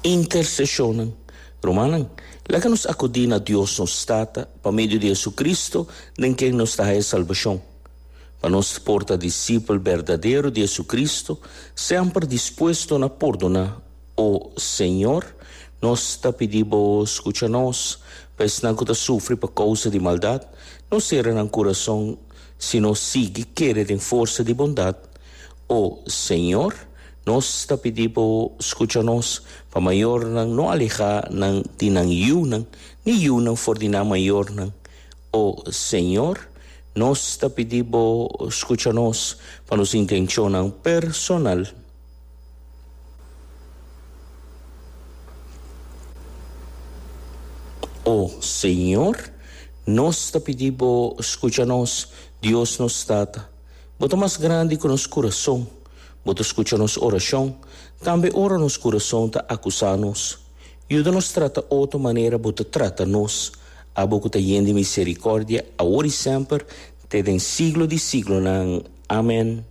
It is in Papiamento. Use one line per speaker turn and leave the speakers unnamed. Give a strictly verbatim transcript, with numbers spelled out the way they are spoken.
Interseshonnan. Rumannan, laga nos akudí na Dios nos Tata pa medio di Hesukristu den ken nos ta haña salbashon. Pa nos por ta disipel berdadero di Hesukristu, semper dispuesto na pordoná. O Señor, nos ta pidi Bo skucha nos, pa esnan ku ta sufri pa kousa di maldat, no sera nan kurason, sino sigui kere den forsa di bondat. O Señor, nos ta pidi Bo skucha nos, pa mayornan no alehá nan di nan yunan, ni yunan for di nan mayornan. O Señor, nos ta pidi Bo skucha nos, pa nos intenshonnan personal. O Señor, nos ta pidi Bo skucha nos, Dios nos Tata. Bo ta mas grandi ku nos kurason. Bo ta skucha nos orashon, tambe ora nos kurason ta akusá nos. Yuda nos trata otro manera Bo ta trata nos, Abo ku ta yen di miserikòrdia, awor i semper, te den siglo di siglonan. Amen.